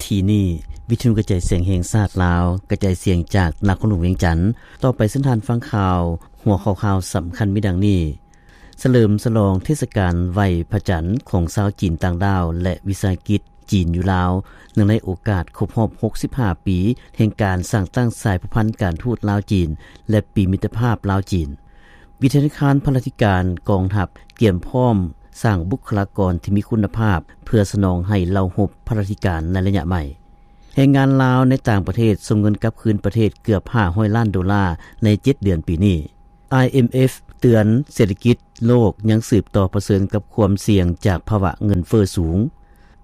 ທີ່ນີ້ ວິທະຍຸກະຈາຍສຽງແຫ່ງຊາດລາວ ກະຈາຍສຽງຈາກນະຄອນຫຼວງວຽງຈັນ. ຕໍ່ໄປເຊີນທ່ານຟັງຂ່າວ ຫົວຂໍ້ຂ່າວສຳຄັນມີດັ່ງນີ້: ສະເຫຼີມສະຫຼອງເທດສະການໄຫວ້ພະຈັນຂອງຊາວຈີນຕ່າງດ້າວ ແລະ ວິສາຫະກິດຈີນຢູ່ລາວ ເນື່ອງໃນໂອກາດຄົບຮອບຫົກສິບຫ້າປີ ແຫ່ງການສ້າງຕັ້ງສາຍພົວພັນການທູດລາວ-ຈີນ ແລະ ປີມິດຕະພາບລາວ-ຈີນ. ວິທະຍາຄານພະລາທິການກອງທັບ ກຽມພ້ອມສ້າງບຸກຄະລາກອນທີ່ມີຄຸນນະພາບ ເພື່ອສະໜອງໃຫ້ເຫຼົ່າຮົບພະລາທິການໃນໄລຍະໃໝ່. ແຮງງານລາວໃນຕ່າງປະເທດສົ່ງເງິນກັບຄືນປະເທດເກືອບຫ້າຮ້ອຍລ້ານໂດລາໃນເຈັດເດືອນປີນີ້. ໄອເອັມເອັຟ ເຕືອນເສດຖະກິດໂລກຍັງສືບຕໍ່ປະເຊີນກັບຄວາມສ່ຽງຈາກພາວະເງິນເຟີ້ສູງ.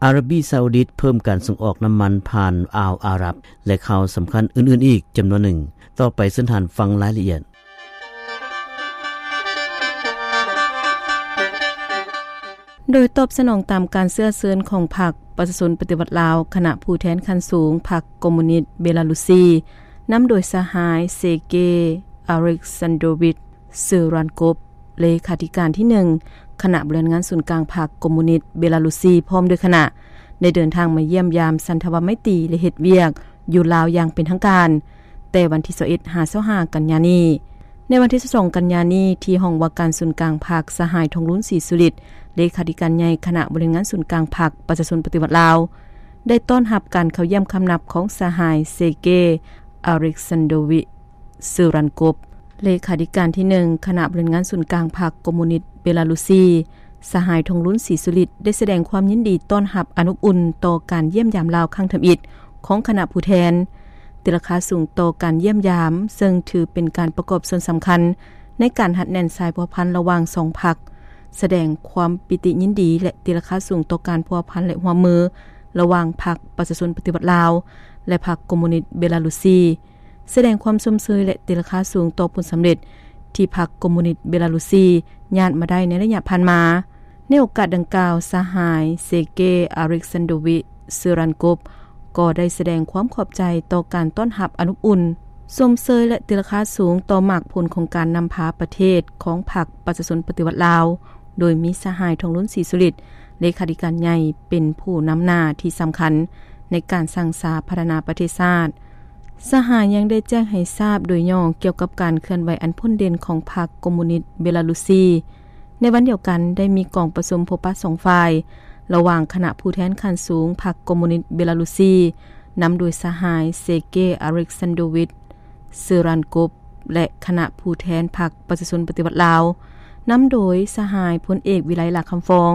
ອາຣາບີຊາອຸດິດເພີ່ມການສົ່ງອອກນ້ຳມັນຜ່ານອ່າວອາຣັບ ແລະ ຂ່າວສຳຄັນອື່ນໆອີກຈຳນວນໜຶ່ງ. ຕໍ່ໄປເຊີນທ່ານຟັງລາຍລະອຽດ. ໂດຍຕອບສະໜອງຕາມການເຊື້ອເຊີນຂອງພັກປະຊາຊົນປະຕິວັດລາວ, ຄະນະຜູ້ແທນຂັ້ນສູງພັກຄອມມູນິດເບລາຣຸຊີ ນຳໂດຍສະຫາຍ ເຊເກ ອາເລັກຊານໂດວິດ ເຊີຣານກົບ ເລຂາທິການທີໜຶ່ງ ຄະນະບໍລິຫານງານສູນກາງພັກຄອມມູນິດເບລາຣຸຊີ ພ້ອມດ້ວຍຄະນະ ໄດ້ເດີນທາງມາຢ້ຽມຢາມສັນທະວະໄມຕີ ແລະ ເຮັດວຽກຢູ່ລາວຢ່າງເປັນທາງການ ແຕ່ວັນທີຊາວເອັດ ຫາ ຊາວຫ້າ ກັນຍານີ້. ໃນວັນທີຊາວສອງ ກັນຍານີ້ ທີ່ຫ້ອງວ່າການສູນກາງພັກ, ສະຫາຍ ທອງລຸນ ສີສຸລິດ ເລຂາທິການໃຫຍ່ຄະນະບໍລິຫານງານສູນກາງພັກປະຊາຊົນປະຕິວັດລາວ ໄດ້ຕ້ອນຮັບການເຂົ້າຢ້ຽມຄຳນັບຂອງສະຫາຍ ເຊເກ ອາເລັກຊານໂດວິດ ເຊີຣານກົບ ເລຂາທິການທີໜຶ່ງ ຄະນະບໍລິຫານງານສູນກາງພັກຄອມມູນິດເບລາຣຸຊີ. ສະຫາຍ ທອງລຸນ ສີສຸລິດ ໄດ້ສະແດງຄວາມຍິນດີຕ້ອນຮັບອັນອົບອຸ່ນຕໍ່ການຢ້ຽມຢາມລາວຄັ້ງທຳອິດຂອງຄະນະຜູ້ແທນ, ຕີລາຄາສູງຕໍ່ການຢ້ຽມຢາມ ເຊິ່ງຖືເປັນການປະກອບສ່ວນສຳຄັນໃນການຮັດແໜ້ນສາຍພົວພັນລະຫວ່າງສອງພັກ, ສະແດງຄວາມປີຕິຍິນດີ ແລະ ຕີລາຄາສູງຕໍ່ການພົວພັນ ແລະ ຮ່ວມມືລະຫວ່າງພັກປະຊາຊົນປະຕິວັດລາວ ແລະ ພັກຄອມມູນິດເບລາຣຸຊີ. ສະແດງຄວາມຊົມເຊີຍ ແລະ ຕີລາຄາສູງຕໍ່ຜົນສຳເລັດທີ່ພັກຄອມມູນິດເບລາຣຸຊີຍາດມາໄດ້ໃນໄລຍະຜ່ານມາ. ໃນໂອກາດດັ່ງກ່າວ, ສະຫາຍ ເຊເກ ອາເລັກຊານໂດວິດ ເຊີຣານກົບ ກໍໄດ້ສະແດງຄວາມຂອບໃຈຕໍ່ການຕ້ອນຮັບອັນອົບອຸ່ນ, ຊົມເຊີຍ ແລະ ຕີລາຄາສູງຕໍ່ໝາກຜົນຂອງການນຳພາປະເທດຂອງພັກປະຊາຊົນປະຕິວັດລາວ, ໂດຍມີສະຫາຍ ທອງລຸນ ສີສຸລິດ ເລຂາທິການໃຫຍ່ ເປັນຜູ້ນຳໜ້າທີ່ສຳຄັນໃນການສ້າງສາພັດທະນາປະເທດຊາດ. ສະຫາຍຍັງໄດ້ແຈ້ງໃຫ້ຊາບໂດຍຫຍໍ້ກ່ຽວກັບການເຄື່ອນໄຫວອັນພົ້ນເດັ່ນຂອງພັກຄອມມູນິດເບລາຣຸຊີ. ໃນວັນດຽວກັນ, ໄດ້ມີກອງປະຊຸມພົບປະສອງຝ່າຍ ລະຫວ່າງຄະນະຜູ້ແທນຂັ້ນສູງພັກຄອມມູນິດເບລາຣຸຊີ ນຳໂດຍສະຫາຍ ເຊເກ ອາເລັກຊານໂດວິດ ເຊີຣານກົບ ແລະ ຄະນະຜູ້ແທນພັກປະຊາຊົນປະຕິວັດລາວ, ນຳໂດຍສະຫາຍ ພົນເອກ ວິໄລ ຫຼ້າຄຳຟອງ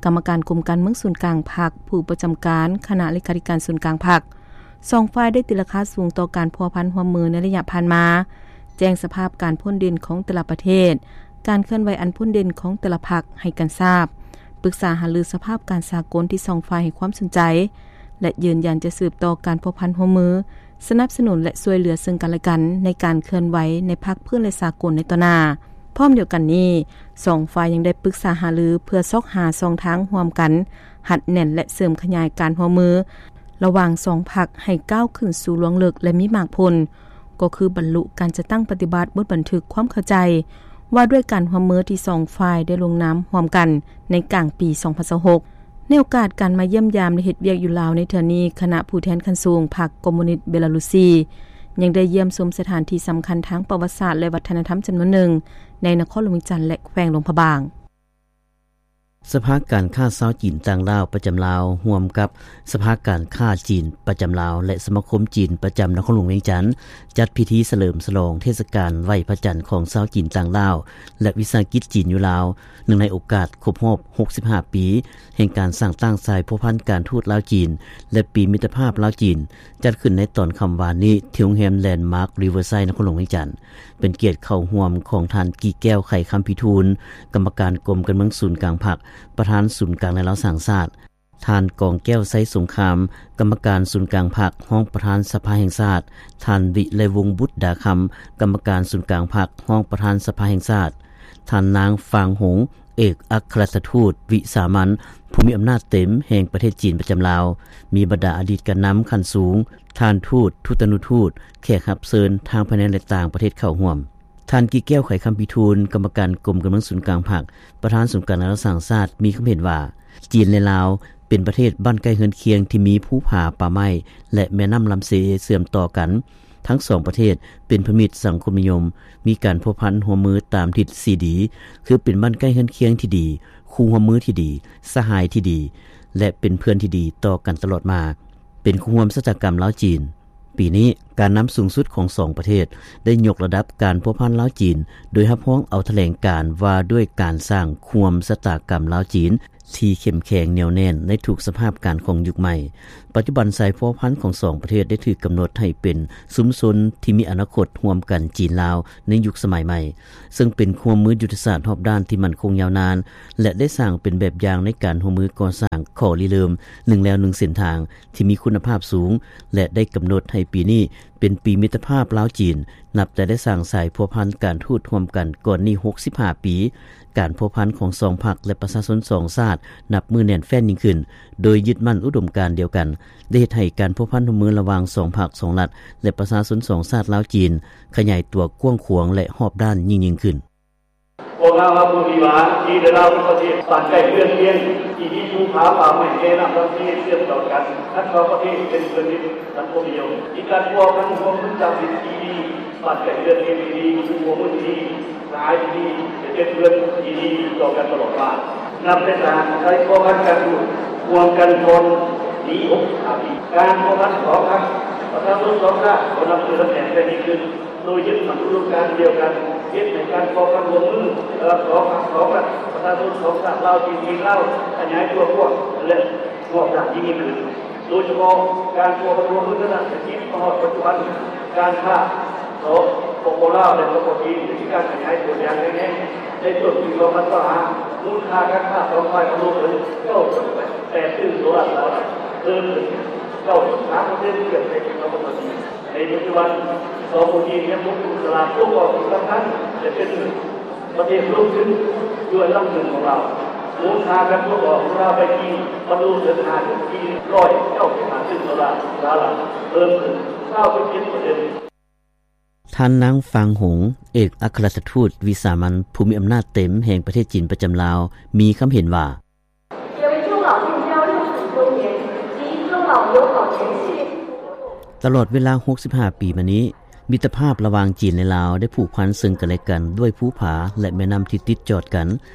ກຳມະການກົມການເມືອງສູນກາງພັກ, ຜູ້ປະຈຳການຄະນະເລຂາທິການສູນກາງພັກ. ສອງຝ່າຍໄດ້ຕີລາຄາສູງຕໍ່ການພົວພັນຮ່ວມມືໃນໄລຍະຜ່ານມາ, ແຈ້ງສະພາບການພົ້ນເດັ່ນຂອງແຕ່ລະປະເທດ, ການເຄື່ອນໄຫວອັນພົ້ນເດັ່ນຂອງແຕ່ລະພັກໃຫ້ກັນຊາບ, ປຶກສາຫາລືສະພາບການສາກົນທີ່ສອງຝ່າຍໃຫ້ຄວາມສົນໃຈ ແລະ ຢືນຢັນຈະສືບຕໍ່ການພົວພັນຮ່ວມມື, ສະໜັບສະໜູນ ແລະ ຊ່ວຍເຫຼືອເຊິ່ງກັນແລະກັນໃນການເຄື່ອນໄຫວໃນພາກພື້ນ ແລະ ສາກົນໃນຕໍ່ໜ້າ. ພ້ອມດຽວກັນນີ້, ສອງຝ່າຍຍັງໄດ້ປຶກສາຫາລືເພື່ອຊອກຫາຊ່ອງທາງຮ່ວມກັນ ຮັດແໜ້ນ ແລະ ເສີມຂະຫຍາຍການຮ່ວມມື ລະຫວ່າງສອງພັກໃຫ້ກ້າວຂຶ້ນສູ່ລວງເລິກ ແລະ ມີໝາກຜົນ, ກໍຄືບັນລຸການຈັດຕັ້ງປະຕິບັດບົດບັນທຶກຄວາມເຂົ້າໃຈວ່າດ້ວຍການຮ່ວມມືທີ່ສອງຝ່າຍໄດ້ລົງນາມຮ່ວມກັນໃນກາງປີສອງພັນຊາວຫົກ. ໃນໂອກາດການມາຢ້ຽມຢາມ ແລະ ເຮັດວຽກຢູ່ລາວໃນເທື່ອນີ້, ຄະນະຜູ້ແທນຂັ້ນສູງພັກຄອມມູນິດເບລາຣຸຊີ ຍັງໄດ້ຢ້ຽມຊົມສະຖານທີ່ສຳຄັນທາງປະຫວັດສາດ ແລະ ວັດທະນະທຳຈຳນວນໜຶ່ງໃນນະຄອນຫຼວງວຽງຈັນ ແລະ ແຂວງຫຼວງພະບາງ. ສະພາການຄ້າຊາວຈີນຕ່າງດ້າວປະຈຳລາວ ຮ່ວມກັບສະພາການຄ້າຈີນປະຈຳລາວ ແລະ ສະມາຄົມຈີນປະຈຳນະຄອນຫຼວງວຽງຈັນ ຈັດພິທີສະເຫຼີມສະຫຼອງເທດສະການໄຫວ້ພະຈັນຂອງຊາວຈີນຕ່າງດ້າວ ແລະ ວິສາຫະກິດຈີນຢູ່ລາວ ເນື່ອງໃນໂອກາດຄົບຮອບຫົກສິບຫ້າປີ ແຫ່ງການສ້າງຕັ້ງສາຍພົວພັນການທູດລາວ-ຈີນ ແລະ ປີມິດຕະພາບລາວ-ຈີນ ຈັດຂຶ້ນໃນຕອນຄ່ຳວານນີ້ ທີ່ໂຮງແຮມແລນມາກຣີເວີໄຊ ນະຄອນຫຼວງວຽງຈັນ. ເປັນກຽດເຂົ້າຮ່ວມຂອງທ່ານ ກີແກ້ວ ໄຂຄຳພິທູນ ກຳມະການກົມການເມືອງສູນກາງພັກ, ປະທານສູນກາງແນວລາວສ້າງຊາດ, ທ່ານ ກອງແກ້ວ ໄຊສົງຄາມ ກຳມະການສູນກາງພັກ, ຮອງປະທານສະພາແຫ່ງຊາດ, ທ່ານ ວິໄລວົງ ບຸດດາຄຳ ກຳມະການສູນກາງພັກ, ຮອງປະທານສະພາແຫ່ງຊາດ, ທ່ານ ນາງ ຟາງຫົງ ເອກອັກຄະລັດຖະທູດວິສາມັນ ຜູ້ມີອຳນາດເຕັມແຫ່ງປະເທດຈີນປະຈຳລາວ, ມີບັນດາອະດີດການນຳຂັ້ນສູງ, ທ່ານທູດ, ທູຕະນຸທູດ, ແຂກຮັບເຊີນທາງພາຍໃນ ແລະ ຕ່າງປະເທດເຂົ້າຮ່ວມ. ທ່ານ ກີແກ້ວ ໄຂຄຳພິທູນ ກຳມະການກົມການເມືອງສູນກາງພັກ, ປະທານສູນກາງແນວລາວສ້າງຊາດ ມີຄຳເຫັນວ່າ ຈີນ ແລະ ລາວ ປັນປະເທດບ້ານໃກ້ເຮືອນຄຽງທີ່ມີພູຜາ, ປ່າໄມ້ ແລະ ແມ່ນ້ຳລຳເຊເຊື່ອມຕໍ່ກັນ. ທັງສອງປະເທດເປັນພັນທະມິດສັງຄົມນິຍົມ, ມີການພົວພັນຮ່ວມມືຕາມທິດສີ່ດີ ຄືເປັນບ້ານໃກ້ເຮືອນຄຽງທີ່ດີ, ຄູ່ຮ່ວມມືທີ່ດີ, ສະຫາຍທີ່ດີ ແລະ ເປັນເພື່ອນທີ່ດີຕໍ່ກັນຕະຫຼອດມາ, ເປັນຄູ່ຮ່ວມຊະຕາກຳລາວ-ຈີນ. ປີນີ້, ການນຳສູງສຸດຂອງສອງປະເທດໄດ້ຍົກລະດັບການພົວພັນລາວ-ຈີນ ໂດຍຮັບຮອງເອົາຖະແຫຼງການວ່າດ້ວຍການສ້າງຄູ່ຮ່ວມຊະຕາກຳລາວ-ຈີນ ທີ່ເຂັ້ມແຂງແໜ້ວແໜ້ນໃນທຸກສະພາບການຂອງຍຸກໃໝ່. ປັດຈຸບັນສາຍພົວພັນຂອງສອງປະເທດໄດ້ຖືກກຳນົດໃຫ້ເປັນຊຸມຊົນທີ່ມີອະນາຄົດຮ່ວມກັນຈີນ-ລາວໃນຍຸກສະໄໝໃໝ່, ເຊິ່ງເປັນຮ່ວມມືຍຸດທະສາດຮອບດ້ານທີ່ໝັ້ນຄົງຍາວນານ ແລະ ໄດ້ສ້າງເປັນແບບຢ່າງໃນການຮ່ວມມືກໍ່ສ້າງຂໍ້ລິເລີ່ມໜຶ່ງແລວໜຶ່ງເສັ້ນທາງທີ່ມີຄຸນນະພາບສູງ ແລະ ໄດ້ກຳນົດໃຫ້ປີນີ້ເປັນປີມິດຕະພາບລາວ-ຈີນ ນັບແຕ່ໄດ້ສ້າງສາຍພົວພັນການທູດຮ່ວມກັນກ່ອນນີ້ຫົກສິບຫ້າປີ. ການພົວພັນຂອງສອງພັກ ແລະ ປະຊາຊົນສອງຊາດ ນັບມື້ແໜ້ນແຟ້ນຍິ່ງຂຶ້ນ, ໂດຍຍຶດໝັ້ນອຸດົມການດຽວກັນ, ໄດ້ເຮັດໃຫ້ການພົວພັນຮ່ວມມືລະຫວ່າງສອງພັກສອງລັດ ແລະ ປະຊາຊົນສອງຊາດລາວ-ຈີນ ຂະຫຍາຍຕົວກວ້າງຂວາງ ແລະ ຮອບດ້ານຍິ່ງໆຂຶ້ນ. ພວກເຮົາຮັບຮູ້ດີວ່າ ຈີນ ແລະ ລາວ ເປັນປະເທດບ້ານໃກ້ເຮືອນຄຽງ ທີ່ມີພູຜາ, ປ່າໄມ້, ແມ່ນ້ຳລຳຊີເຊື່ອມຕໍ່ກັນ. ທັງສອງປະເທດເປັນເພື່ອນມິດສັງຄົມນິຍົມ, ມີການພົວພັນຮ່ວມມືຕາມທິດທີ່ດີ, ບ້ານໃກ້ເຮືອນຄຽງທີ່ດີ, ຄູ່ຮ່ວມມືທີ່ດີ, ສະຫາຍທີ່ດີ ແລະ ເປັນເພື່ອນທີ່ດີຕໍ່ກັນຕະຫຼອດມາ. ນັບແຕ່ສ້າງສາຍພົວພັນການຢູ່ຮ່ວມກັນກ່ອນນີ້ຫົກສິບຫ້າປີ, ການພົວພັນຂອງພັກປະຊາຊົນສອງຊາດກໍນັບຖືວ່າແໜ້ນແຟ້ນຍິ່ງຂຶ້ນ. ໂດຍຍຶດໝັ້ນອຸດົມການດຽວກັນ, ເຮັດໃຫ້ການກໍ່ການຮ່ວມມືລະຫວ່າງສອງພັກສອງລັດ, ປະຊາຊົນສອງຊາດ ລາວ-ຈີນ, ຈີນ-ລາວ ຂະຫຍາຍຕົວກວ້າງ ແລະ ຮອບດ້ານຍິ່ງຂຶ້ນ, ໂດຍສະເພາະການພົວພັນຮ່ວມມືທາງດ້ານເສດຖະກິດມາຮອດປັດຈຸບັນ, ການຄ້າ ສປປ ລາວ ແລະ ສປປ ຈີນ ໄດ້ມີການຂະຫຍາຍຕົວຢ່າງແຂງແຮງ. ໃນຕົ້ນປີສອງພັນຊາວຫ້າ ມູນຄ່າການຄ້າສອງຝ່າຍບຳລຸເຖິງເກົ້າຈຸດແປດຕື້ໂດລາສະຫະລັດ, ເພີ່ມຂຶ້ນເກົ້າຈຸດສາມເປີເຊັນ ທຽບໃສ່ປີສອງພັນຊາວສີ່. ໃນປັດຈຸບັນ ສປປ ຈີນຍັງຄົງເປັນຕະຫຼາດສົ່ງອອກທີ່ສຳຄັນ ແລະ ເປັນປະເທດລົງທຶນຢູ່ອັນດັບໜຶ່ງຂອງລາວ. ມູນຄ່າການສົ່ງອອກຂອງລາວໄປຈີນ ບັນລຸເຖິງຫ້າຈຸດສີ່ຮ້ອຍເກົ້າສິບຫ້າຕື້ໂດລາສະຫະລັດ, ເພີ່ມຂຶ້ນຊາວເຈັດເປີເຊັນ. ທ່ານນາງ ຟາງ ຫົງ ເອກອັກຄະລັດຖະທູດວິສາມັນຜູ້ມີອຳນາດເຕັມແຫ່ງປະເທດຈີນປະຈຳລາວ ມີຄຳເຫັນວ່າ ຕະຫຼອດເວລາຫົກສິບຫ້າປີມານີ້, ມິດຕະພາບລະຫວ່າງຈີນ ແລະ ລາວ ໄດ້ຜູກພັນເຊິ່ງກັນ ແລະ ກັນດ້ວຍພູຜາ ແລະ ແມ່ນ້ຳທີ່ຕິດຈອດກັນ,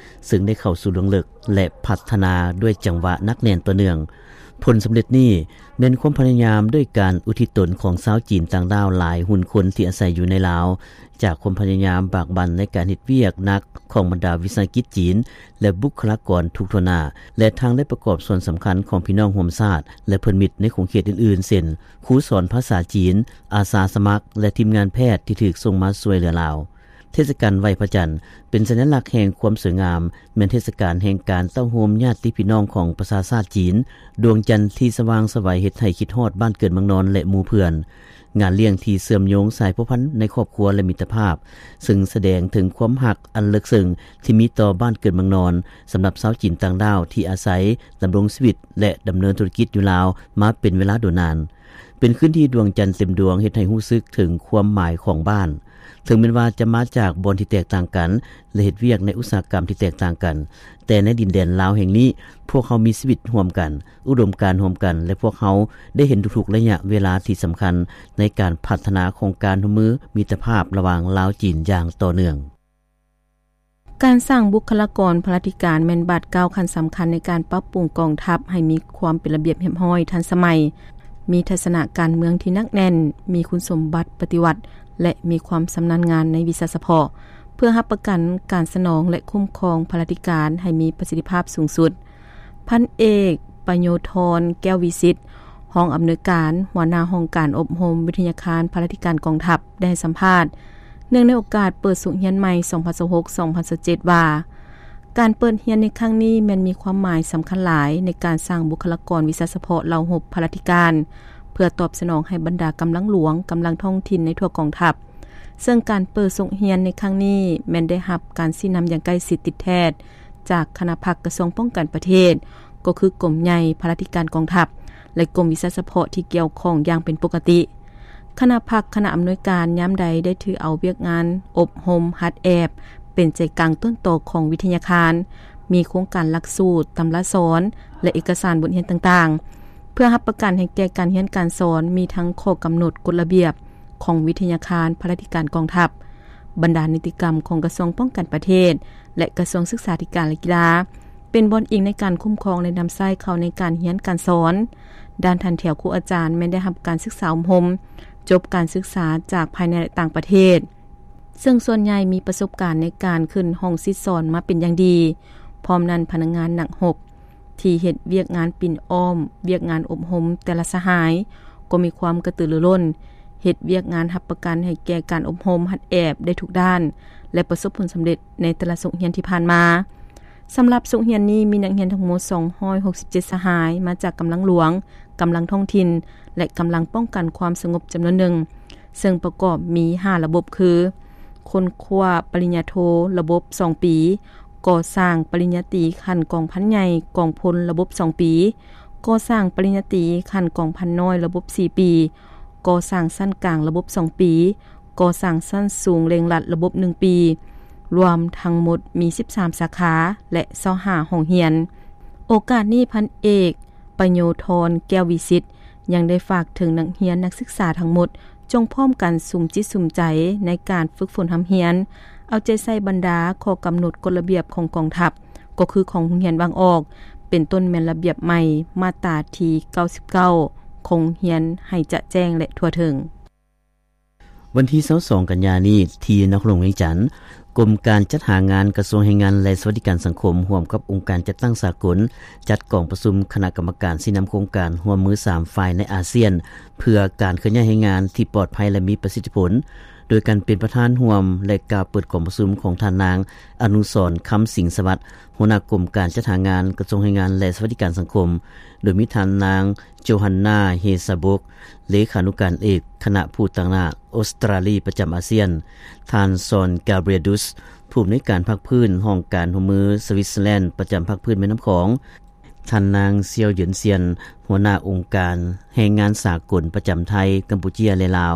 ເຊິ່ງໄດ້ເຂົ້າສູ່ເບື້ອງເລິກ ແລະ ພັດທະນາດ້ວຍຈັງຫວະໜັກແໜ້ນຕໍ່ເນື່ອງ. ຜົນສຳເລັດນີ້ແມ່ນຄວາມພະຍາຍາມດ້ວຍການອຸທິດຕົນຂອງຊາວຈີນຕ່າງດ້າວຫຼາຍຮຸ່ນຄົນທີ່ອາໄສຢູ່ໃນລາວ, ຈາກຄວາມພະຍາຍາມບາກບັ່ນໃນການເຮັດວຽກໜັກຂອງບັນດາວິສາຫະກິດຈີນ ແລະ ບຸກຄະລາກອນທຸກທົ່ວໜ້າ, ແລະ ທັງໄດ້ປະກອບສ່ວນສຳຄັນຂອງພີ່ນ້ອງຮ່ວມຊາດ ແລະ ເພື່ອນມິດໃນຂົງເຂດອື່ນໆ ເຊັ່ນ ຄູສອນພາສາຈີນ, ອາສາສະໝັກ ແລະ ທີມງານແພດທີ່ຖືກສົ່ງມາຊ່ວຍເຫຼືອລາວ. ເທດສະການໄຫວ້ພະຈັນ ເປັນສັນຍະລັກແຫ່ງຄວາມສວຍງາມ, ແມ່ນເທດສະການແຫ່ງການເຕົ້າໂຮມຍາດຕິພີ່ນ້ອງຂອງປະຊາຊາດຈີນ. ດວງຈັນທີ່ສະຫວ່າງສະໄຫວເຮັດໃຫ້ຄິດຮອດບ້ານເກີດເມືອງນອນ ແລະ ໝູ່ເພື່ອນ. ງານລ້ຽງທີ່ເຊື່ອມໂຍງສາຍພົວພັນໃນຄອບຄົວ ແລະ ມິດຕະພາບ, ເຊິ່ງສະແດງເຖິງຄວາມຮັກອັນເລິກເຊິ່ງທີ່ມີຕໍ່ບ້ານເກີດເມືອງນອນ ສຳລັບຊາວຈີນຕ່າງດ້າວທີ່ອາໄສ, ດຳລົງຊີວິດ ແລະ ດຳເນີນທຸລະກິດຢູ່ລາວມາເປັນເວລາດົນນານ. ເປັນຄືນທີ່ດວງຈັນເຕັມດວງເຮັດໃຫ້ຮູ້ສຶກເຖິງຄວາມໝາຍຂອງບ້ານ. ເຖິງແມ່ນວ່າຈະມາຈາກບ່ອນທີ່ແຕກຕ່າງກັນ ແລະ ເຮັດວຽກໃນອຸດສາຫະກຳທີ່ແຕກຕ່າງກັນ, ແຕ່ໃນດິນແດນລາວແຫ່ງນີ້, ພວກເຮົາມີຊີວິດຮ່ວມກັນ, ອຸດົມການຮ່ວມກັນ ແລະ ພວກເຮົາໄດ້ເຫັນທຸກໆໄລຍະເວລາທີ່ສຳຄັນໃນການພັດທະນາຂອງການຮ່ວມມືມິດຕະພາບລະຫວ່າງລາວ-ຈີນຢ່າງຕໍ່ເນື່ອງ. ການສ້າງບຸກຄະລາກອນພະລາທິການແມ່ນບາດກ້າວຂັ້ນສຳຄັນໃນການປັບປຸງກອງທັບໃຫ້ມີຄວາມເປັນລະບຽບຮຽບຮ້ອຍ, ທັນສະໄໝ, ມີທັດສະນະການເມືອງທີ່ໜັກແໜ້ນ, ມີຄຸນສົມບັດປະຕິວັດ ແລະ ມີຄວາມຊຳນານງານໃນວິຊາສະເພາະ, ເພື່ອຮັບປະກັນການສະໜອງ ແລະ ຄຸ້ມຄອງພະລາທິການໃຫ້ມີປະສິດທິພາບສູງສຸດ. ພັນເອກ ປະໂຍທອນ ແກ້ວວິສິດ, ຮອງອຳນວຍການ, ຫົວໜ້າຫ້ອງການອົບຮົມວິທະຍາຄານພະລາທິການກອງທັບ ໄດ້ໃຫ້ສຳພາດ ເນື່ອງໃນໂອກາດເປີດສົກຮຽນໃໝ່ ສອງພັນຊາວຫົກ ສອງພັນຊາວເຈັດ ວ່າ, ການເປີດຮຽນໃນຄັ້ງນີ້ແມ່ນມີຄວາມໝາຍສຳຄັນຫຼາຍໃນການສ້າງບຸກຄະລາກອນວິຊາສະເພາະເຫຼົ່າຮົບພະລາທິການ ເພື່ອຕອບສະໜອງໃຫ້ບັນດາກຳລັງຫຼວງ, ກຳລັງທ້ອງຖິ່ນໃນທົ່ວກອງທັບ. ເຊິ່ງການເປີດສົກຮຽນໃນຄັ້ງນີ້ແມ່ນໄດ້ຮັບການຊີ້ນຳຢ່າງໃກ້ຊິດຕິດແທດ ຈາກຄະນະພັກກະຊວງປ້ອງກັນປະເທດ, ກໍຄືກົມໃຫຍ່ພະລາທິການກອງທັບ ແລະ ກົມວິຊາສະເພາະທີ່ກ່ຽວຂ້ອງຢ່າງເປັນປົກກະຕິ. ຄະນະພັກ, ຄະນະອຳນວຍການຍາມໃດໄດ້ຖືເອົາວຽກງານອົບຮົມຫັດແອບເປັນໃຈກາງຕົ້ນຕໍຂອງວິທະຍາຄານ, ເ ມີໂຄງການຫຼັກສູດ, ຕຳລາສອນ ແລະ ເອກະສານບົດຮຽນຕ່າງໆ ເພື່ອຮັບປະກັນໃຫ້ແກ່ການຮຽນການສອນ, ມີທັງຂໍ້ກຳນົດ, ກົດລະບຽບຂອງວິທະຍາຄານ, ພະລາທິການກອງທັບ, ບັນດານິຕິກຳຂອງກະຊວງປ້ອງກັນປະເທດ ແລະ ກະຊວງສຶກສາທິການ ແລະ ກິລາ ເປັນບ່ອນອີງໃນການຄຸ້ມຄອງ ແລະ ນຳໃຊ້ເຂົ້າໃນການຮຽນການສອນ. ດ້ານທ່ານແຖວຄູອາຈານແມ່ນໄດ້ຮັບການສຶກສາອົບຮົມ, ຈົບການສຶກສາຈາກພາຍໃນ ແລະ ຕ່າງປະເທດ, ເຊິ່ງສ່ວນໃຫຍ່ມີປະສົບການໃນການຂຶ້ນຫ້ອງສິດສອນມາເປັນຢ່າງດີ. ພ້ອມນັ້ນ, ພະນັກງານນັກຮົບທີ່ເຮັດວຽກງານປິ່ນອ້ອມວຽກງານອົບຮົມແຕ່ລະສະຫາຍ ກໍມີຄວາມກະຕືລືລົ້ນ ເຮັດວຽກງານຮັບປະກັນໃຫ້ແກ່ການອົບຮົມຫັດແອບໄດ້ທຸກດ້ານ ແລະ ປະສົບຜົນສຳເລັດໃນແຕ່ລະສົກຮຽນທີ່ຜ່ານມາ. ສຳລັບສົກຮຽນນີ້ ມີນັກຮຽນທັງໝົດສອງຮ້ອຍຫົກສິບເຈັດສະຫາຍ ມາຈາກກຳລັງຫຼວງ, ກຳລັງທ້ອງຖິ່ນ ແລະ ກຳລັງປ້ອງກັນຄວາມສະຫງົບຈຳນວນໜຶ່ງ, ເຊິ່ງປະກອບມີຫ້າລະບົບຄື ຄົ້ນຄວ້າປະລິນຍາໂທລະບົບສອງປີ, ກໍ່ສ້າງປະລິນຍາຕີຂັ້ນກອງພັນໃຫຍ່ກອງພົນລະບົບສອງປີ, ກໍ່ສ້າງປະລິນຍາຕີຂັ້ນກອງພັນນ້ອຍລະບົບສີ່ປີ, ກໍ່ສ້າງຊັ້ນກາງລະບົບສອງປີ, ກໍ່ສ້າງຊັ້ນສູງເລັ່ງລັດລະບົບໜຶ່ງປີ, ລວມທັງໝົດມີສິບສາມສາຂາ ແລະ ຊາວຫ້າຫ້ອງຮຽນ. ໂອກາດນີ້ ພັນເອກ ປະໂຍທອນ ແກ້ວວິສິດ ຍັງໄດ້ຝາກເຖິງນັກຮຽນນັກສຶກສາທັງໝົດ ຈົ່ງພ້ອມກັນສຸມຈິດສຸມໃຈໃນການຝຶກຝົນຮ່ຳຮຽນ, ເອົາໃຈໃສ່ບັນດາຂໍ້ກຳນົດກົດລະບຽບຂອງກອງທັບ, ກໍຄືຂອງໂຮງຮຽນວາງອອກ, ເປັນຕົ້ນແມ່ນລະບຽບໃໝ່ມາດຕາທີເກົ້າສິບເກົ້າ ຂອງໂຮງຮຽນໃຫ້ຈະແຈ້ງ ແລະ ທົ່ວເຖິງ. ວັນທີຊາວສອງ ກັນຍານີ້ ທີ່ນະຄອນຫຼວງວຽງຈັນ, ກົມການຈັດຫາງານກະຊວງແຮງງານ ແລະ ສະຫວັດດີການສັງຄົມ ຮ່ວມກັບອົງການຈັດຕັ້ງສາກົນ ຈັດກອງປະຊຸມຄະນະກຳມະການຊີ້ນຳໂຄງການຮ່ວມມືສາມຝ່າຍໃນອາຊຽນ ເພື່ອການເຄື່ອນຍ້າຍແຮງງານທີ່ປອດໄພ ແລະ ມີປະສິດທິຜົນ, ໂດຍການເປັນປະທານຮ່ວມ ແລະ ກ່າວເປີດກອງປະຊຸມຂອງທ່ານນາງ ອະນຸສອນ ຄຳສິງສະຫວັດ ຫົວໜ້າກົມການຈັດຫາງານ ກະຊວງແຮງງານ ແລະ ສະຫວັດດີການສັງຄົມ, ໂດຍມີທ່ານນາງ ໂຈຮັນນາ ເຮຊາບົກ ເລຂານຸການເອກຄະນະຜູ້ຕາງໜ້າອົດສະຕຣາລີປະຈຳອາຊຽນ, ທ່ານ ຊອນ ກາບຣຽລດຸສ ຜູ້ອຳນວຍການພາກພື້ນຫ້ອງການຮ່ວມມືສະວິດເຊີແລນປະຈຳພາກພື້ນແມ່ນ້ຳຂອງ, ທ່ານນາງ ຊຽວ ເຫຍີນຊຽນ ຫົວໜ້າອົງການແຮງງານສາກົນປະຈຳໄທ, ກຳປູເຈຍ ແລະ ລາວ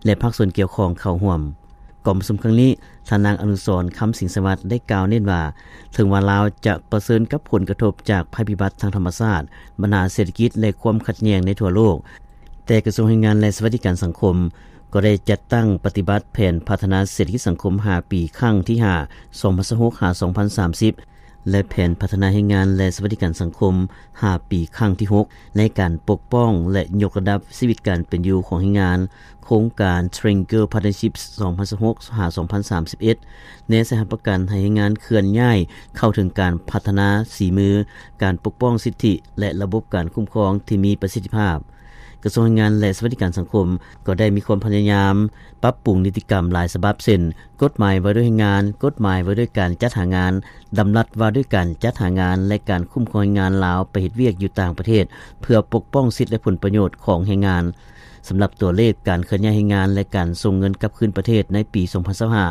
ແລະ ພາກສ່ວນກ່ຽວຂ້ອງເຂົ້າຮ່ວມ. ກອງປະຊຸມຄັ້ງນີ້, ທ່ານນາງ ອະນຸສອນ ຄຳສິງສະຫວັດ ໄດ້ກ່າວເນັ້ນວ່າ ເຖິງວ່າລາວຈະປະເຊີນກັບຜົນກະທົບຈາກໄພພິບັດທາງທຳມະຊາດ, ບັນຫາເສດຖະກິດ ແລະ ຄວາມຂັດແຍ່ງໃນທົ່ວໂລກ, ແຕ່ກະຊວງແຮງງານ ແລະ ສະຫວັດດີການສັງຄົມ ກໍໄດ້ຈັດຕັ້ງປະຕິບັດແຜນພັດທະນາເສດຖະກິດສັງຄົມຫ້າປີ ຄັ້ງທີຫ້າ ສອງພັນຊາວຫົກ ຫາ ສອງພັນສາມສິບ ແລະ ແຜນພັດທະນາແຮງງານ ແລະ ສະຫວັດດີການສັງຄົມຫ້າປີ ຄັ້ງທີຫົກ ໃນການປົກປ້ອງ ແລະ ຍົກລະດັບຊີວິດການເປັນຢູ່ຂອງແຮງງານ, ໂຄງການ Triangle Partnerships ສອງພັນຊາວຫົກ ຫາ ສອງພັນສາມສິບເອັດ ແນໃສ່ຮັບປະກັນໃຫ້ແຮງງານເຄື່ອນຍ້າຍເຂົ້າເຖິງການພັດທະນາສີມື, ການປົກປ້ອງສິດທິ ແລະ ລະບົບການຄຸ້ມຄອງທີ່ມີປະສິດທິພາບ. ກະຊວງແຮງງານ ແລະ ສະຫວັດດີການສັງຄົມ ກໍໄດ້ມີຄວາມພະຍາຍາມປັບປຸງນິຕິກຳຫຼາຍສະບັບ ເຊັ່ນ ກົດໝາຍວ່າດ້ວຍແຮງງານ, ກົດໝາຍວ່າດ້ວຍການຈັດຫາງານ, ດຳລັດວ່າດ້ວຍການຈັດຫາງານ ແລະ ການຄຸ້ມຄອງແຮງງານລາວໄປເຮັດວຽກຢູ່ຕ່າງປະເທດ ເພື່ອປົກປ້ອງສິດ ແລະ ຜົນປະໂຫຍດຂອງແຮງງານ. ສຳລັບຕົວເລກການເຄື່ອນຍ້າຍແຮງງານ ແລະ ການສົ່ງເງິນກັບຄືນປະເທດໃນປີສອງພັນຊາວຫ້າ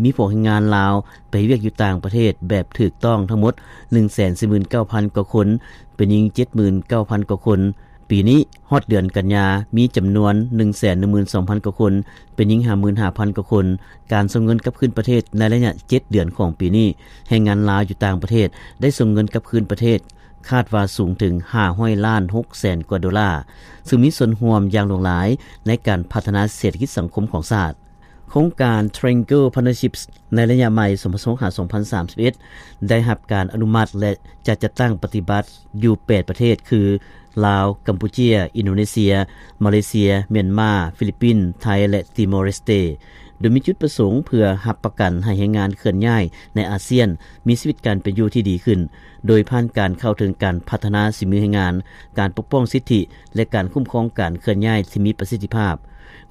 ມີພວກແຮງງານລາວໄປເຮັດວຽກຢູ່ຕ່າງປະເທດແບບຖືກຕ້ອງທັງໝົດ ໜຶ່ງແສນສີ່ໝື່ນເກົ້າພັນກວ່າຄົນ, ເປັນຍິງເຈັດໝື່ນເກົ້າພັນກວ່າຄົນ. ປີນີ້ຮອດເດືອນກັນຍາ ມີຈຳນວນໜຶ່ງແສນໜຶ່ງໝື່ນສອງພັນກວ່າຄົນ, ເປັນຍິງຫ້າໝື່ນຫ້າພັນກວ່າຄົນ. ການສົ່ງເງິນກັບຄືນປະເທດໃນໄລຍະເຈັດເດືອນຂອງປີນີ້, ແຮງງານລາວຢູ່ຕ່າງປະເທດໄດ້ສົ່ງເງິນກັບຄືນປະເທດ ຄາດວ່າສູງເຖິງຫ້າຮ້ອຍລ້ານຫົກແສນກວ່າໂດລາ, ຊຶ່ງມີສ່ວນຮ່ວມຢ່າງຫຼວງຫຼາຍໃນການພັດທະນາເສດຖະກິດສັງຄົມຂອງຊາດ. ໂຄງການ Triangle Partnerships ໃນໄລຍະໃໝ່ ສອງພັນຊາວຫົກ ຫາ ສອງພັນສາມສິບເອັດ ໄດ້ຮັບການອະນຸມັດ ແລະ ຈະຈັດຕັ້ງປະຕິບັດຢູ່ແປດປະເທດ ຄື ລາວ, ກຳປູເຈຍ, ອິນໂດເນເຊຍ, ມາເລເຊຍ, ມຽນມາ, ຟີລິບປິນ, ໄທ ແລະ ຕີມໍເຣສເຕ, ໂດຍມີຈຸດປະສົງເພື່ອຮັບປະກັນໃຫ້ແຮງງານເຄື່ອນຍ້າຍໃນອາຊຽນມີຊີວິດການເປັນຢູ່ທີ່ດີຂຶ້ນ, ໂດຍຜ່ານການເຂົ້າເຖິງການພັດທະນາສີມືແຮງງານ, ການປົກປ້ອງສິດທິ ແລະ ການຄຸ້ມຄອງການເຄື່ອນຍ້າຍທີ່ມີປະສິດທິພາບ.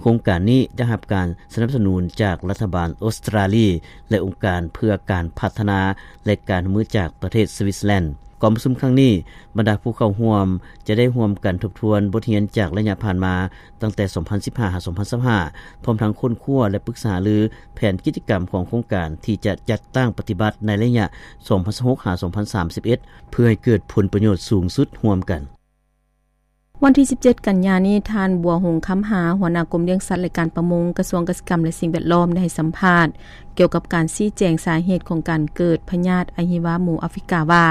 ໂຄງການນີ້ໄດ້ຮັບການສະໜັບສະໜູນຈາກລັດຖະບານອົດສະຕຣາລີ ແລະ ອົງການເພື່ອການພັດທະນາ ແລະ ການຮ່ວມມືຈາກປະເທດສະວິດເຊີແລນ. ກອງປະຊຸມຄັ້ງນີ້, ບັນດາຜູ້ເຂົ້າຮ່ວມຈະໄດ້ຮ່ວມກັນທົບທວນບົດຮຽນຈາກໄລຍະຜ່ານມາ ຕັ້ງແຕ່ສອງພັນສິບຫ້າ ຫາ ສອງພັນຊາວຫ້າ ພ້ອມທັງຄົ້ນຄວ້າ ແລະ ປຶກສາຫາລືແຜນກິດຈະກຳຂອງໂຄງການທີ່ຈະຈັດຕັ້ງປະຕິບັດໃນໄລຍະສອງພັນຊາວຫົກ ຫາ ສອງພັນສາມສິບເອັດ ເພື່ອໃຫ້ເກີດຜົນປະໂຫຍດສູງສຸດຮ່ວມກັນ. ວັນທີສິບເຈັດ ກັນຍານີ້, ທ່ານ ບົວຫົງ ຄຳຫາ ຫົວໜ້າກົມລ້ຽງສັດ ແລະ ການປະມົງ ກະຊວງກະສິກຳ ແລະ ສິ່ງແວດລ້ອມ ໄດ້ໃຫ້ສຳພາດກ່ຽວກັບການຊີ້ແຈງສາເຫດຂອງການເກີດພະຍາດອະຫິວາໝູອາຟຣິກາວ່າ,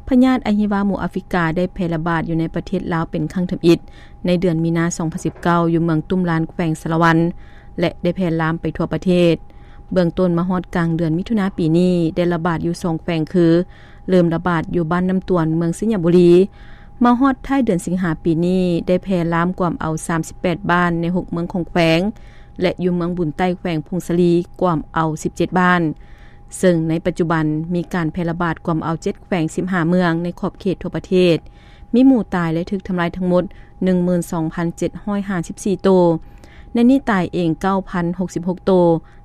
ພະຍາດອະຫິວາໝູອາຟຣິກາໄດ້ແຜ່ລະບາດຢູ່ໃນປະເທດລາວເປັນຄັ້ງທຳອິດ ໃນເດືອນມີນາ ສອງພັນສິບເກົ້າ ຢູ່ເມືອງຕຸ້ມລານ ແຂວງສາລະວັນ ແລະ ໄດ້ແຜ່ລາມໄປທົ່ວປະເທດ. ເບື້ອງຕົ້ນມາຮອດກາງເດືອນມິຖຸນາປີນີ້ ໄດ້ລະບາດຢູ່ສອງແຂວງຄື ເລີ່ມລະບາດຢູ່ບ້ານນ້ຳຕວນ ເມືອງໄຊຍະບູລີ, ມາຮອດທ້າຍເດືອນສິງຫາປີນີ້ ໄດ້ແຜ່ລາມກວມເອົາ ສາມສິບແປດ ບ້ານໃນ ຫົກ ເມືອງຂອງແຂວງ ແລະ ຢູ່ເມືອງບຸນໃຕ້ ແຂວງຜົ້ງສາລີ ກວມເອົາ ສິບເຈັດ ບ້ານ. ເຊິ່ງໃນປັດຈຸບັນມີການແຜ່ລະບາດກວມເອົາ ເຈັດ ແຂວງ ສິບຫ້າ ເມືອງໃນຂອບເຂດທົ່ວປະເທດ, ມີໝູຕາຍ ແລະ ຖືກທຳລາຍທັງໝົດ ໜຶ່ງໝື່ນສອງພັນເຈັດຮ້ອຍຫ້າສິບສີ່ ໂຕ, ໃນນີ້ຕາຍເອງ ເກົ້າພັນຫົກສິບຫົກ ໂຕ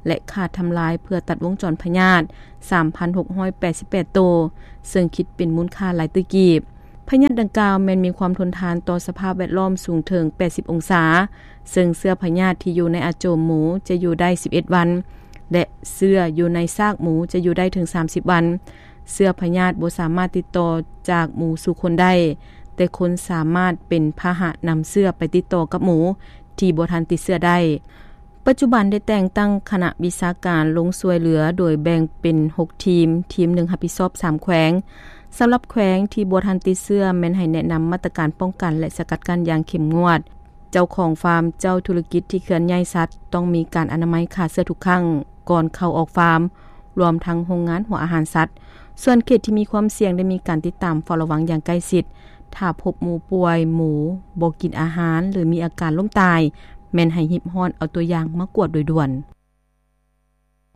ແລະ ຂາດທຳລາຍເພື່ອຕັດວົງຈອນພະຍາດ ສາມພັນຫົກຮ້ອຍແປດສິບແປດ ໂຕ, ເຊິ່ງຄິດເປັນມູນຄ່າຫຼາຍຕື້ກີບ. ພະຍາດດັ່ງກ່າວແມ່ນມີຄວາມທົນທານຕໍ່ສະພາບແວດລ້ອມສູງເຖິງ ແປດສິບ ອົງສາ, ເຊິ່ງເຊື້ອພະຍາດທີ່ຢູ່ໃນອາໂຈມໝູຈະຢູ່ໄດ້ ສິບເອັດ ວັນ ແລະ ເຊື້ອຢູ່ໃນຊາກໝູຈະຢູ່ໄດ້ເຖິງ ສາມສິບ ວັນ. ເຊື້ອພະຍາດບໍ່ສາມາດຕິດຕໍ່ຈາກໝູສູ່ຄົນໄດ້, ແຕ່ຄົນສາມາດເປັນພາຫະນຳເຊື້ອໄປຕິດຕໍ່ກັບໝູທີ່ບໍ່ທັນຕິດເຊື້ອໄດ້. ປັດຈຸບັນໄດ້ແຕ່ງຕັ້ງຄະນະວິຊາການລົງຊ່ວຍເຫຼືອ ໂດຍແບ່ງເປັນ ຫົກ ທີມ, ທີມໜຶ່ງຮັບຜິດຊອບ ສາມ ແຂວງ. ສຳລັບແຂວງທີ່ບໍ່ທັນຕິດເຊື້ອ ແມ່ນໃຫ້ແນະນຳມາດຕະການປ້ອງກັນ ແລະ ສະກັດກັ້ນຢ່າງເຂັ້ມງວດ. ເຈົ້າຂອງຟາມ, ເຈົ້າທຸລະກິດທີ່ເຄື່ອນຍ້າຍສັດ ຕ້ອງມີການອະນາໄມຂ້າເຊື້ອທຸກຄັ້ງກ່ອນເຂົ້າອອກຟາມ, ລວມທັງໂຮງງານຫົວອາຫານສັດ. ສ່ວນເຂດທີ່ມີຄວາມສ່ຽງໄດ້ມີການຕິດຕາມເຝົ້າລະວັງຢ່າງໃກ້ຊິດ. ຖ້າພົບໝູປ່ວຍ, ໝູບໍ່ກິນອາຫານ ຫຼື ມີອາການລົ້ມຕາຍ, ແມ່ນໃຫ້ຮີບຮ້ອນເອົາຕົວຢ່າງມາກວດໂດຍດ່ວນ.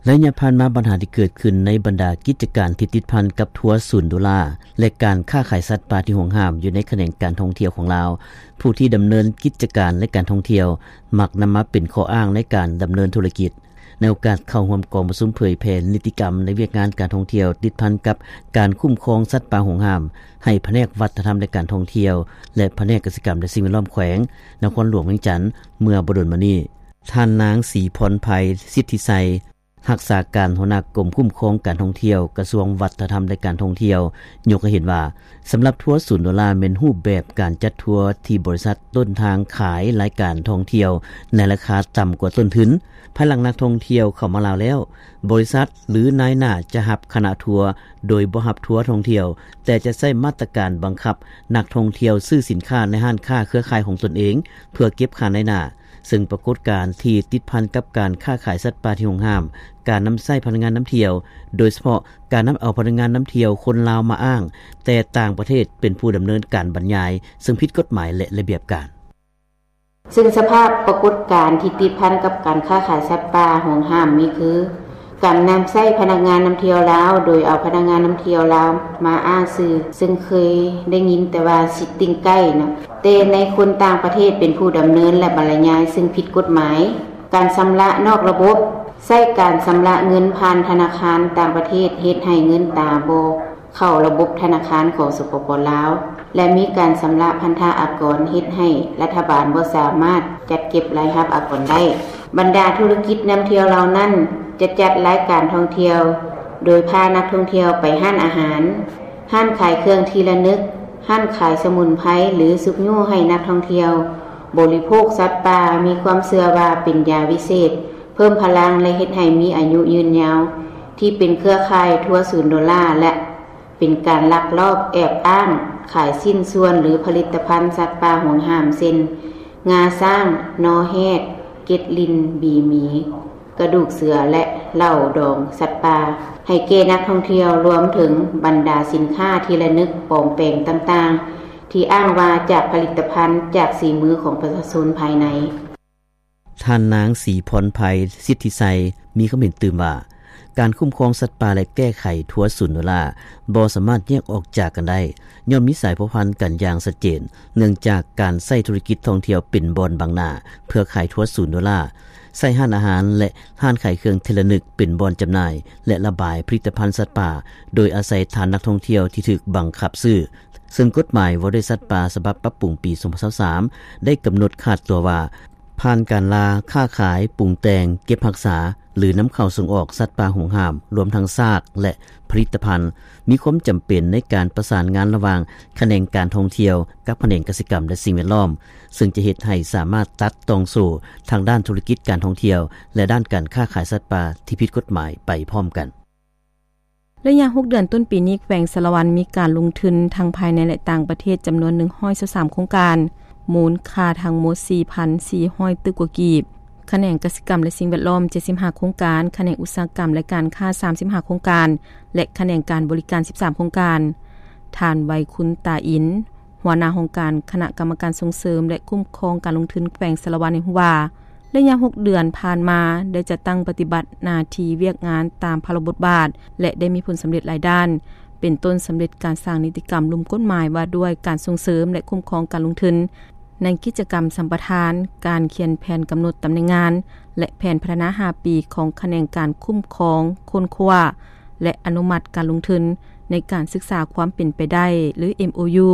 ໄລຍະຜ່ານມາ, ບັນຫາທີ່ເກີດຂຶ້ນໃນບັນດາກິດຈະການທີ່ຕິດພັນກັບທົວສູນໂດລາ ແລະ ການຄ້າຂາຍສັດປ່າທີ່ຫວງຫ້າມຢູ່ໃນຂະແໜງການທ່ອງທ່ຽວຂອງລາວ, ຜູ້ທີ່ດຳເນີນກິດຈະການ ແລະ ການທ່ອງທ່ຽວ ມັກນຳມາເປັນຂໍ້ອ້າງໃນການດຳເນີນທຸລະກິດ. ໃນໂອກາດເຂົ້າຮ່ວມກອງປະຊຸມເຜີຍແຜ່ນິຕິກຳໃນວຽກງານການທ່ອງທ່ຽວ ຕິດພັນກັບການຄຸ້ມຄອງສັດປ່າຫວງຫ້າມ ໃຫ້ພະແນກວັດທະນະທຳ ແລະ ການທ່ອງທ່ຽວ ແລະ ພະແນກກະສິກຳ ແລະ ສິ່ງແວດລ້ອມແຂວງນະຄອນຫຼວງວຽງຈັນ ເມື່ອບໍ່ດົນມານີ້, ທ່ານນາງ ສີພອນໄພ ສິດທິໄຊ ຮັກສາການຫົວໜ້າກົມຄຸ້ມຄອງການທ່ອງທ່ຽວ ກະຊວງວັດທະນະທຳ ແລະ ການທ່ອງທ່ຽວ ຍົກໃຫ້ເຫັນວ່າ ສຳລັບທົວສູນໂດລາ ແມ່ນຮູບແບບການຈັດທົວທີ່ບໍລິສັດຕົ້ນທາງຂາຍລາຍການທ່ອງທ່ຽວໃນລາຄາຕ່ຳກວ່າຕົ້ນທຶນ. ພາຍຫຼັງນັກທ່ອງທ່ຽວເຂົ້າມາລາວແລ້ວ, ບໍລິສັດ ຫຼື ນາຍໜ້າຈະຮັບຄະນະທົວໂດຍບໍ່ຮັບທົວທ່ອງທ່ຽວ, ແຕ່ຈະໃຊ້ມາດຕະການບັງຄັບນັກທ່ອງທ່ຽວຊື້ສິນຄ້າໃນຮ້ານຄ້າເຄືອຂ່າຍຂອງຕົນເອງ ເພື່ອເກັບຄ່ານາຍໜ້າ. ເຊິ່ງປາກົດການທີ່ຕິດພັນກັບການຄ້າຂາຍສັດປ່າທີ່ຫວງຫ້າມ, ການນຳໃຊ້ພະນັກງານນຳທ່ຽວ, ໂດຍສະເພາະການນຳເອົາພະນັກງານນຳທ່ຽວຄົນລາວມາອ້າງ, ແຕ່ຕ່າງປະເທດເປັນຜູ້ດຳເນີນການບັນຍາຍ, ເຊິ່ງຜິດກົດໝາຍ ແລະ ລະບຽບການ. ເຊິ່ງສະພາບປາກົດການທີ່ຕິດພັນກັບການຄ້າຂາຍສັດປ່າຫວງຫ້າມມີຄື, ການນຳໃຊ້ພະນັກງານນຳທ່ຽວລາວ ໂດຍເອົາພະນັກງານນຳທ່ຽວລາວມາອ້າງຊື່, ເຊິ່ງເຄີຍໄດ້ຍິນແຕ່ວ່າຊິດຕິງໄກເນາະ, ແຕ່ໃນຄົນຕ່າງປະເທດເປັນຜູ້ດຳເນີນ ແລະ ບັນລະຍາຍ, ເຊິ່ງຜິດກົດໝາຍ. ການຊຳລະນອກລະບົບ, ໃຊ້ການຊຳລະເງິນຜ່ານທະນາຄານຕ່າງປະເທດ ເຮັດໃຫ້ເງິນຕາບໍ່ເຂົ້າລະບົບທະນາຄານຂອງ ສປປ ລາວ ແລະ ມີການຊຳລະພັນທະອາກອນ ເຮັດໃຫ້ລັດຖະບານບໍ່ສາມາດຈັດເກັບລາຍຮັບອາກອນໄດ້. ບັນດາທຸລະກິດນຳທ່ຽວເຫຼົ່ານັ້ນ ຈະຈັດລາຍການທ່ອງທ່ຽວ ໂດຍພານັກທ່ອງທ່ຽວໄປຮ້ານອາຫານ, ຮ້ານຂາຍເຄື່ອງທີ່ລະນຶກ, ຮ້ານຂາຍສະໝຸນໄພ ຫຼື ຊຸກຍູ້ໃຫ້ນັກທ່ອງທ່ຽວບໍລິໂພກສັດປ່າ, ມີຄວາມເຊື່ອວ່າເປັນຢາວິເສດ, ເພີ່ມພະລັງ ແລະ ເຮັດໃຫ້ມີອາຍຸຍືນຍາວ, ທີ່ເປັນເຄືອຂ່າຍທົວສູນໂດລາ ແລະ ເປັນການລັກລອບແອບອ້າງຂາຍຊິ້ນສ່ວນ ຫຼື ຜະລິດຕະພັນສັດປ່າຫວງຫ້າມ ເຊັ່ນ ງາຊ້າງ, ນໍແຮດ, ເກັດລິ່ນ, ບີໝີ, ກະດູກເສືອ ແລະ ເຫຼົ້າດອງສັດປ່າ ໃຫ້ແກ່ນັກທ່ອງທ່ຽວ, ລວມເຖິງບັນດາສິນຄ້າທີ່ລະນຶກປອມແປງຕ່າງໆ ທີ່ອ້າງວ່າຈາກຜະລິດຕະພັນຈາກສີມືຂອງປະຊາຊົນພາຍໃນ. ທ່ານນາງ ສີພອນໄພ ສິດທິໄຊ ມີຄຳເຫັນຕື່ມວ່າ ການຄຸ້ມຄອງສັດປ່າ ແລະ ແກ້ໄຂທົວສູນໂດລາ ບໍ່ສາມາດແຍກອອກຈາກກັນໄດ້, ຍ້ອນມີສາຍພົວພັນກັນຢ່າງຊັດເຈນ, ເນື່ອງຈາກການໃຊ້ທຸລະກິດທ່ອງທ່ຽວເປັນບ່ອນບັງໜ້າເພື່ອຂາຍທົວສູນໂດລາ, ໃຊ້ຮ້ານອາຫານ ແລະ ຮ້ານຂາຍເຄື່ອງທີ່ລະນຶກເປັນບ່ອນຈຳໜ່າຍ ແລະ ລະບາຍຜະລິດຕະພັນສັດປ່າ ໂດຍອາໄສຖານນັກທ່ອງທ່ຽວທີ່ຖືກບັງຄັບຊື້. ເຊິ່ງກົດໝາຍວ່າດ້ວຍສັດປ່າ ສະບັບປັບປຸງປີສອງພັນຊາວສາມ ໄດ້ກຳນົດຂາດຕົວວ່າ, ຜ ຜ່ານການລ່າ, ຄ້າຂາຍ, ປຸງແຕ່ງ, ເກັບຮັກສາ ຫຼື ນຳເຂົ້າ-ສົ່ງອອກ ສັດປ່າຫວງຫ້າມ ລວມທັງຊາກ ແລະ ຜະລິດຕະພັນ ມີຄວາມຈຳເປັນໃນການປະສານງານລະຫວ່າງ ຂະແໜງການທ່ອງທ່ຽວ ກັບຂະແໜງກະສິກຳ ແລະ ສິ່ງແວດລ້ອມ ເຊິ່ງຈະເຮັດໃຫ້ສາມາດຕັດຕ່ອງໂສ້ ທາງດ້ານທຸລະກິດການທ່ອງທ່ຽວ ແລະ ດ້ານການຄ້າຂາຍສັດປ່າ ທີ່ຜິດກົດໝາຍໄປພ້ອມກັນ. ໄລຍະຫົກເດືອນຕົ້ນປີນີ້ ແຂວງສາລະວັນມີການລົງທຶນທັງພາຍໃນ ແລະ ຕ່າງປະເທດ ຈຳນວນໜຶ່ງຮ້ອຍຊາວສາມໂຄງການ, ມູນຄ່າທັງໝົດສີ່ພັນສີ່ຮ້ອຍຕື້ກວ່າກີບ, ຂະແໜງກະສິກຳ ແລະ ສິ່ງແວດລ້ອມເຈັດສິບຫ້າໂຄງການ, ຂະແໜງອຸດສາຫະກຳ ແລະ ການຄ້າສາມສິບຫ້າໂຄງການ ແລະ ຂະແໜງການບໍລິການສິບສາມໂຄງການ. ທ່ານ ໄວຄຸນ ຕາອິນ, ຫົວໜ້າຫ້ອງການຄະນະກຳມະການສົ່ງເສີມ ແລະ ຄຸ້ມຄອງການລົງທຶນແຂວງສາລະວັນ ໃຫ້ຮູ້ວ່າ ໄລຍະຫົກເດືອນຜ່ານມາ ໄດ້ຈັດຕັ້ງປະຕິບັດໜ້າທີ່ວຽກງານຕາມພາລະບົດບາດ ແລະ ໄດ້ມີຜົນສຳເລັດຫຼາຍດ້ານ, ເປັນຕົ້ນສຳເລັດການສ້າງນິຕິກຳລຸ່ມກົດໝາຍວ່າດ້ວຍການສົ່ງເສີມ ແລະ ຄຸ້ມຄອງການລົງທຶນ ໃນກິດຈະກຳສຳປະທານ, ການຂຽນແຜນກຳນົດຕຳແໜ່ງງານ ແລະ ແຜນພັດທະນາຫ້າປີຂອງຂະແໜງການຄຸ້ມຄອງ, ຄົ້ນຄວ້າ ແລະ ອະນຸມັດການລົງທຶນໃນການສຶກສາຄວາມເປັນໄປໄດ້ ຫຼື ເອັມໂອຢູ